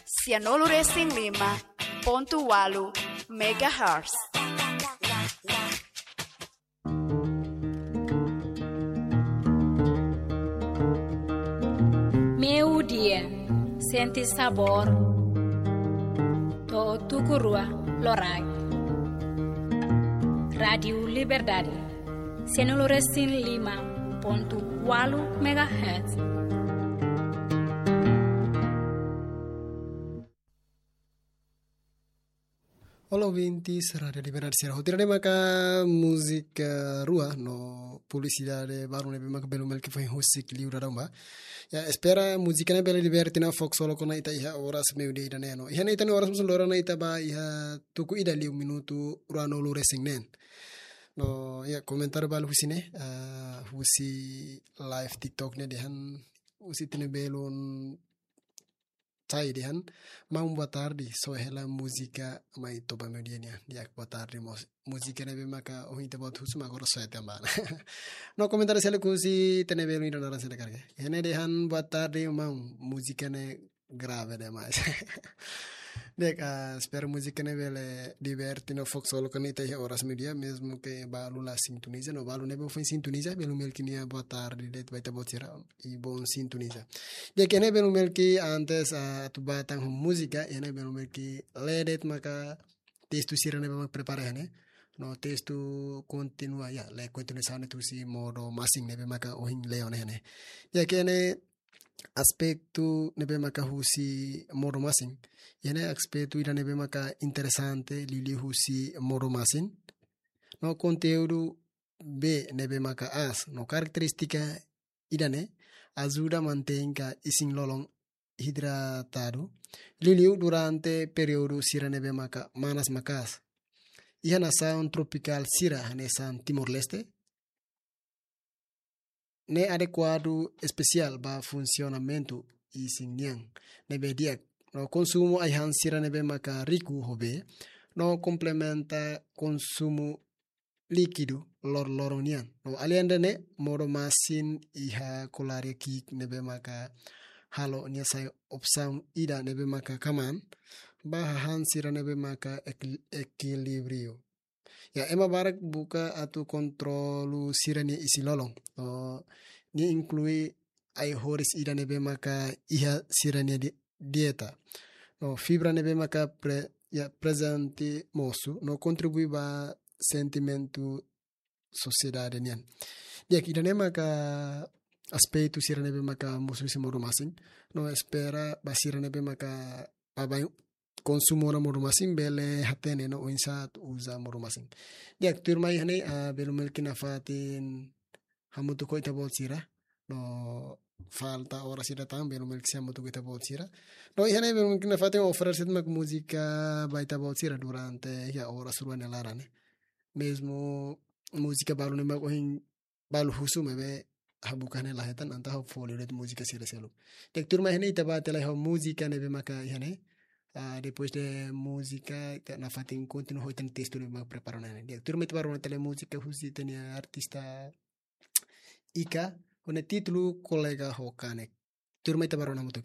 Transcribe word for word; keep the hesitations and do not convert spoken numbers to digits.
Sianulu resin lima pontu walu megahertz. Meio-dia, sente sabor. To'o tuku rua loraik. Rádiu Liberdade, sianulu resin lima pontu walu megahertz. Olá, ouvintes, Rádiu Liberdade sira. Hotu ne'e maka múzika rua no publisidade balu ne'ebé maka belun Melki foin husik liu dadaun ba. Ya, espera múzika ne'e bele liberte no fó ksolok ona ita iha oras meio-dia ida-ne'e no. Iha ne'e ita-nia oras mós lorona ita ba iha tuku ida liu minutu ruanulu resin neen. No, ya, komentáriu balu husi ne'e, ah, husi live TikTok ne'e dehan husi ita-nia belun Chai dehan, maun boa tarde, soe hela múzika mai to'o ba meio-dia nian. Di'ak, boa tarde mós. Múzika ne'ebé maka ohin ita-boot husu mak agora soe tan ba. No komentáriu seluk husi ita-nia belun ida naran seluk karik. Iha ne'e dehan, boa tarde maun, múzika ne'e grave demais. Di'ak, ah, espera múzika ne'e bele liberte no fó ksolok ona ita iha oras meio-dia, mezmu ke balu la sintoniza, no balu ne'ebé foin sintoniza, belun Melki nia boa tarde de'it ba ita-boot sira, i bom sintoniza. Di'ak, iha ne'e belun Melki, antes, ah, atu ba tan ho múzika, iha ne'e belun Melki lee de'it maka testu sira ne'ebé mak prepara iha ne'e. No testu kontinua, ya, lee kontinuasaun ne'e husi Modo Masin ne'ebé maka ohin lee ona iha ne'e. Di'ak, iha ne'e aspetu ne'ebé maka husi Modo Masin. Iha ne'e aspetu ida ne'ebé maka interesante, liuliu husi Modo Masin. No konteúdu bee ne'ebé maka aas, no karakterístika ida-ne'e ajuda mantein ka isin-lolon idratadu, liuliu durante períodu sira ne'ebé maka manas maka'as. Iha nasaun tropikál sira hanesan Timor-Leste, ne'e adekuadu espesiál ba funsionamentu isin nian ne'ebé di'ak. No konsumu ai-han sira ne'ebé maka riku ho bee, no komplementa konsumu líkidu loroloron nian. No alende ne'e, Modo Masin iha kolária ki'ik ne'ebé maka halo nia sai opsaun ida ne'ebé maka kamaan ba hahán sira ne'ebé maka ekil-, ekilíbriu. Ya, ema barak buka atu kontrolu sira-nia isin-lolon. No, nia inklui ai-horis ida ne'ebé maka iha sira-nia di-, dieta. No, fibra ne'ebé maka pre-, ya, prezente mosu, no kontribui ba sentimentu sosiedade nian. Di'ak, ida-ne'e maka aspetu sira ne'ebé maka mosu husi Modo Masin. No, espera ba sira ne'ebé maka baibain konsumu ona Modo Masin bele hatene no oinsá atu uza Modo Masin. Di'ak, tuirmai iha ne'e, ah, belun Melki nafatin hamutuk ho ita-boot sira. No falta oras ida tan belun Melki sei hamutuk ho ita-boot sira. No iha ne'e belun Melki nafatin oferese mak múzika ba ita-boot sira durante iha oras rua nia laran ne'e. Mezmu múzika balu ne'e mak ohin balu husu maibé ha'u buka ne'e la hetan, entaun ha'u fó liu de'it múzika sira seluk. Di'ak, tuirmai iha ne'e ita ba tiha lai ho múzika ne'ebé maka iha ne'e. Ah, depois de múzika, ita nafatin kontinua ho ita-nia testu ne'ebé maka prepara ona iha ne'e. Di'ak, tuirmai ita ba rona tiha lai múzika husi ita-nia artista Ika, ho nia títulu Kolega ho Kanek. Tuirmai ita ba rona hamutuk.